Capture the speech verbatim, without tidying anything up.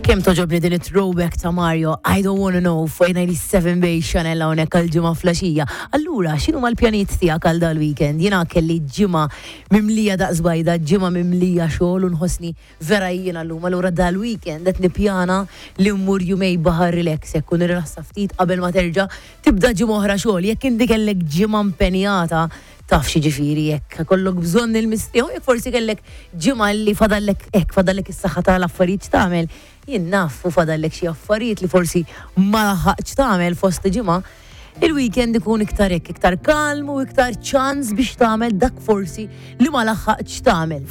Kemm togħġobni din it-throwback ta' Mario, "I Don't Wanna Know" fuq disgħa u sebgħin bej Chanel hawnhekk għal-Ġimgħa filgħaxija. Allura, x'inhuma l-pjanijiet tiegħek għal dal-weekend? Jiena kelli ġimgħa mimlija daqs bajda, ġimgħa mimlija xogħol u nħossni vera jiena llum. Allura dal-weekend qed nippjana li mmur jumejn baħar relax, hekk u nirrilassa ftit qabel ma terġa' tibda ġimgħa oħra xogħol. Jekk inti kellek ġimgħa impenjata, taf x'jiġifieri, jekk kollok bżonn il-mistrieħ, jekk forsi kellek ġimgħa li fadallek hekk, fadallek is-saħħa tal-affarijiet tagħmel, jien naf, u fadallek xi affarijiet li forsi ma laħaqx tagħmel fost ġimgħa, il-weekend ikun iktar hekk, iktar kalm u iktar ċans biex tagħmel dak forsi li ma laħaqx tagħmel.